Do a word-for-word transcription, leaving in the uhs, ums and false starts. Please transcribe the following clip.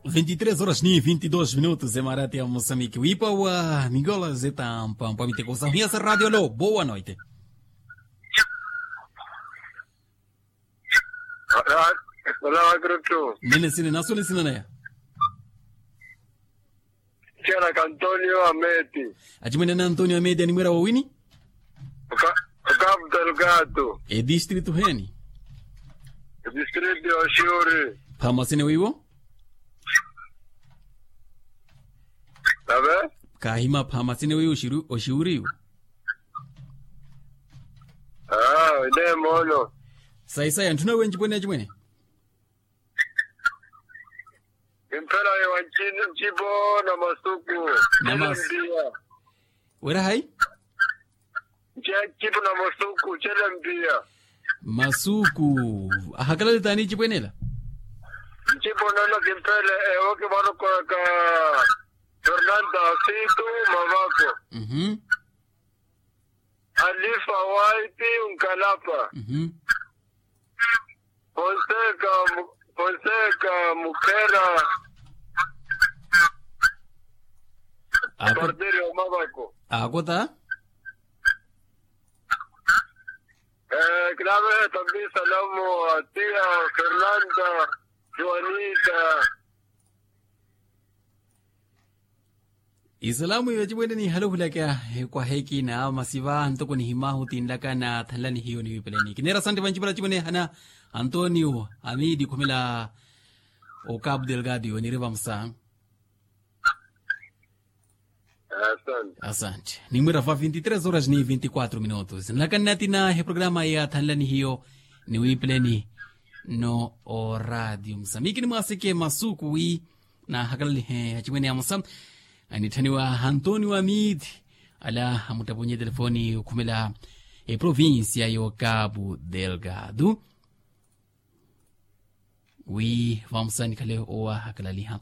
Vinte e três horas ni vinte e dois minutos emarati ya moçambique wiipa wa mingola zetampampwa miteko sahuya sa radio lo boa noite. Olá, olá, gruto. Nene sine nasole sina naya. Tiana ka antonio ameti. Achimwene na antonio ameti animwera wawini? Okapu delgado. Edistrito heni? Edistrito ya shiuri. Phamasene wiwo? Ave? Kahima phamasene wiwo oshiuri iwo? Aa ine mono. Saisaya nthuna wenci pwene achimwene? Kimphela ewa ncipo na masuku. Wira hayi? Ncipo na masuku cele mpiya. Masuku. Ahakalale tani ncipwenela? Ncipo nono kimphela ewo kimwarokoraka. Fernanda situ mavako. Alifa waiti unkalapa. Fonseca, fonseca mukhera. Ako. Partiri omavako. Ako ta. Kilave tambi salamu atia fernanda. Juanita. Isalamu iwe cimwene nihale ohulaka. Kwaheekina masiva ntoko nihimahu tinlaka na thanlani hiyo niwipeleni kinera sante vancipela cimwene hana antonio amidi khumela. Okapu delgado iwe niriva musa. Asante. Nimwira va vinte e três horas ni vinte e quatro minutos nlaka nnatina eprograma ya thanlani hiyo niwipeleni no oradio musa mikini mwaseke masuku wi nahakalalihe acimwene amusa. Anitthaniwa antonio amidi ala amuttaponye telefoni okhumela eprovincia y'okapu delgado. Wi vamusa nikhale owahakalaliha.